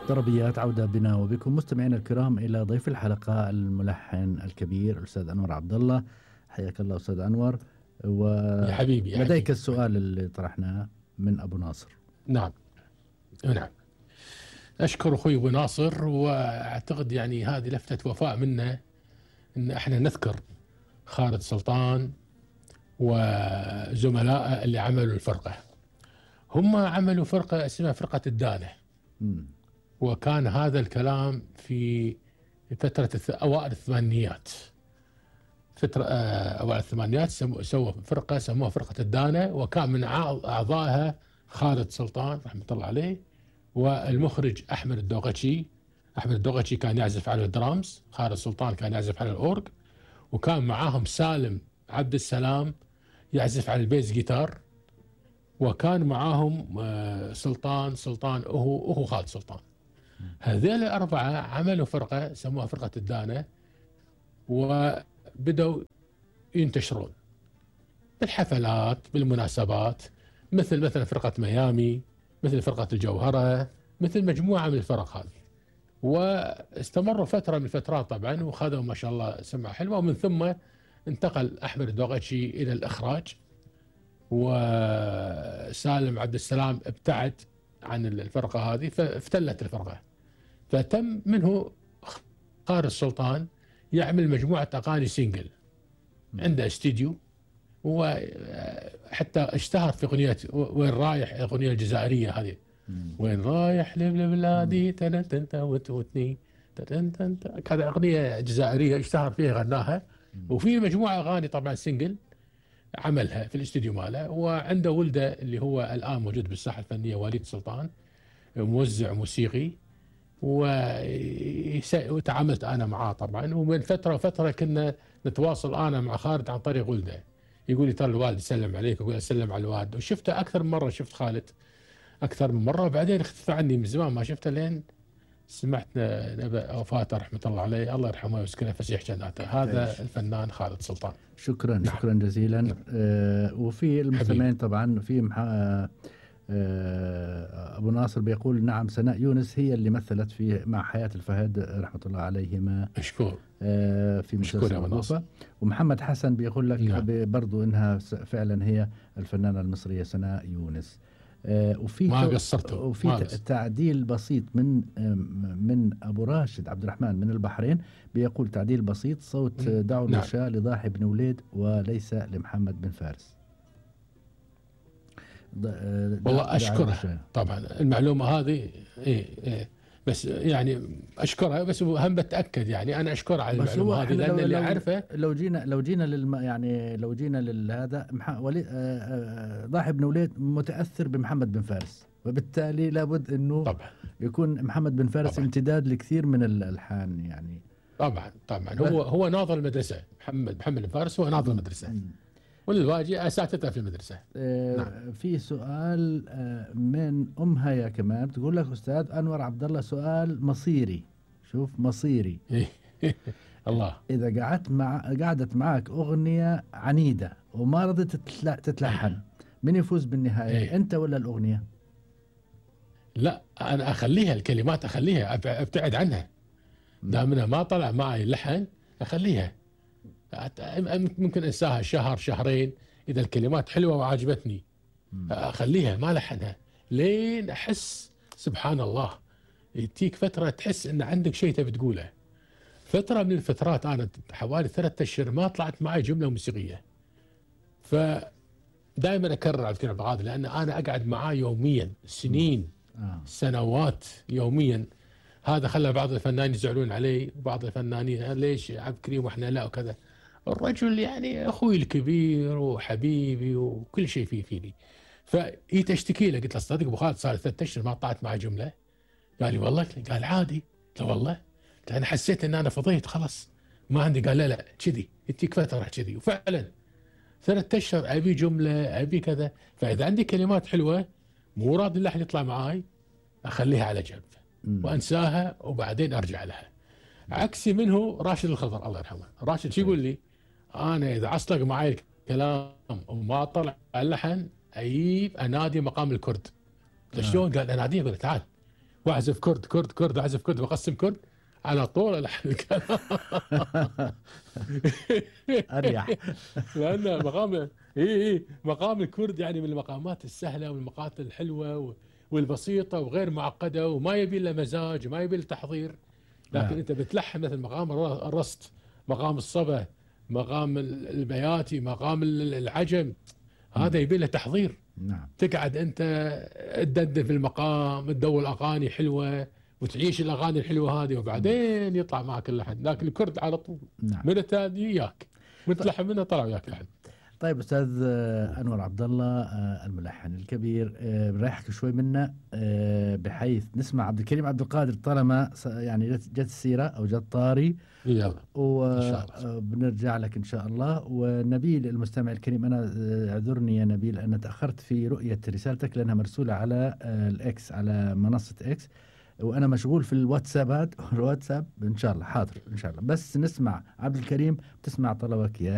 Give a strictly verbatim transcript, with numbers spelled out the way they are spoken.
طربيات عودة بنا وبكم مستمعينا الكرام إلى ضيف الحلقة الملحن الكبير الأستاذ أنور عبد الله. حياك الله أستاذ أنور. يا حبيبي يا ولديك حبيبي. السؤال اللي طرحناه من أبو ناصر. نعم نعم، أشكر أخوي أبو ناصر، وأعتقد يعني هذه لفتة وفاء منا إن احنا نذكر خالد سلطان وزملائه اللي عملوا الفرقة. هم عملوا فرقة اسمها فرقة الدانة، مم. وكان هذا الكلام في فترة أوائل الثمانينيات. فترة أوائل الثمانينيات سووا فرقة سموها فرقة الدانة، وكان من أعضائها خالد سلطان رحمة الله عليه، والمخرج أحمد الدوغتشي. أحمد الدوغتشي كان يعزف على الدرامز، خالد سلطان كان يعزف على الأورج، وكان معاهم سالم عبد السلام يعزف على البيز جيتار، وكان معاهم سلطان سلطان هو هو خالد سلطان. هذول الأربعة عملوا فرقة سموها فرقة الدانة، وبدأوا ينتشرون بالحفلات بالمناسبات، مثل مثلا فرقة ميامي، مثل فرقة الجوهرة، مثل مجموعة من الفرق هذه. واستمروا فترة من الفترات طبعا، وخذوا ما شاء الله سمعة حلوة، ومن ثم انتقل أحمد الدوغتشي إلى الإخراج، وسالم عبد السلام ابتعد عن الفرقة هذه فافتلت الفرقة. فتم منه خالد السلطان يعمل مجموعة أغاني سينجل، عنده استديو، وحتى اشتهر في أغنية وين رايح، الأغنية الجزائرية هذه، وين رايح لبلادي تنتنت وتوتني تنتنت، كذا أغنية جزائرية اشتهر فيها غناها. وفي مجموعة أغاني طبعا سينجل عملها في الاستديو ماله. وعنده ولده اللي هو الآن موجود بالساحة الفنية، وليد سلطان، موزع موسيقي، وتعاملت أنا معاه طبعا. ومن فترة وفترة كنا نتواصل أنا مع خالد عن طريق ولده، يقول لي ترى الوالد يسلم عليك، أقول أسلم على الوالد. وشفته أكثر من مرة، شفت خالد أكثر من مرة، وبعدين اختفى عني من زمان ما شفته، لين سمعت نبأ وفاته رحمة الله عليه، الله يرحمه ويسكنه فسيح جناته. هذا الفنان خالد سلطان. شكرا. نعم. شكرا جزيلا. نعم. آه وفي المستمعين طبعا في محا... آه أبو ناصر بيقول نعم سناء يونس هي اللي مثلت في مع حياة الفهد رحمة الله عليهما. مشكور. آه في مسلسل الوفا. ومحمد حسن بيقول لك نعم. برضو إنها فعلا هي الفنانة المصرية سناء يونس. آه وفي ما قصرته. وفي ما تعديل بسيط من من ابو راشد عبد الرحمن من البحرين، بيقول تعديل بسيط صوت دعوا نعم. العشاء لضاحي بن وليد وليس لمحمد بن فارس. والله اشكره طبعا المعلومه هذه. إيه إيه بس يعني اشكرها، بس هم بتاكد يعني انا اشكر على المعلومه هذه، لان اللي اعرفه لو جينا لو جينا للم يعني لو جينا لهذا ولي ضاحي بن وليد متاثر بمحمد بن فارس، وبالتالي لابد انه طبعا يكون محمد بن فارس طبعا امتداد لكثير من الالحان يعني. طبعا طبعا هو هو ناظر المدرسه. محمد محمد بن فارس هو ناظر المدرسه، والواجي اساتذه في المدرسه. آه نعم. في سؤال آه من ام هيا كمان بتقول لك استاذ انور عبد الله سؤال مصيري. شوف مصيري. الله. اذا قعدت مع قعدت معك اغنيه عنيده وما رضيت تتلحن، من يفوز بالنهايه؟ إيه؟ انت ولا الاغنيه؟ لا انا اخليها الكلمات، اخليها ابتعد عنها دامنا ما طلع معي اللحن، اخليها ممكن انساها شهر شهرين، اذا الكلمات حلوه وعاجبتني اخليها ما لحنها، لين احس سبحان الله يتيك فتره تحس ان عندك شيء تبي تقوله. فتره من الفترات انا حوالي ثلاثة اشهر ما طلعت معي جمله موسيقيه، فدائما اكرر على فكره هذا، لان انا اقعد معاه يوميا سنين آه. سنوات يوميا. هذا خلى بعض الفنانين يزعلون علي، وبعض الفنانين ليش عبد الكريم واحنا لا وكذا. الرجل يعني اخوي الكبير وحبيبي وكل شيء فيه فيني. فهي تشتكي له، قلت له صدق ابو خالد صار ثلاث اشهر ما طلعت معي جمله. قال لي والله، قال عادي. قلت له والله انا حسيت ان انا فضيت خلاص ما عندي. قال لا لا كذي يديك فتره كذي، وفعلا ثلاث اشهر ابي جمله ابي كذا. فاذا عندي كلمات حلوه مو راضي اللحن يطلع معاي اخليها على جنب وانساها وبعدين ارجع لها. عكسي منه راشد الخضر الله يرحمه. راشد شو يقول لي؟ انا اذا عصلق معي الكلام وما طلع اللحن اجيب انادي مقام الكرد. شلون؟ قال اناديه، قال تعال واعزف كرد كرد كرد، اعزف كرد واقسم كرد على طول الحن الكلام. اريح. لان مقام اي اي مقام الكرد يعني من المقامات السهله والمقامات الحلوه والبسيطه وغير معقده، وما يبي الا مزاج، ما يبي له تحضير. لكن نعم. انت بتلحن مثل مقام الرست، مقام الصبا، مقام البياتي، مقام العجم، هذا يبي له تحضير. نعم. تقعد انت تدندن في المقام، تدور اغاني حلوه وتعيش الاغاني الحلوه هذه، وبعدين يطلع معك اللحن. لكن الكرد على طول نعم. من الثاني وياك متلحن منه طلع وياك لحن. طيب استاذ انور عبد الله الملحن الكبير، بنريحك شوي منا بحيث نسمع عبد الكريم عبد القادر طالما يعني جت السيره او جت طاري. يلا وبنرجع لك ان شاء الله. ونبيل المستمع الكريم، انا اعذرني يا نبيل ان تاخرت في رؤيه رسالتك لانها مرسوله على الاكس، على منصه اكس، وانا مشغول في الواتسابات الواتساب. ان شاء الله حاضر ان شاء الله، بس نسمع عبد الكريم، تسمع طلبك يا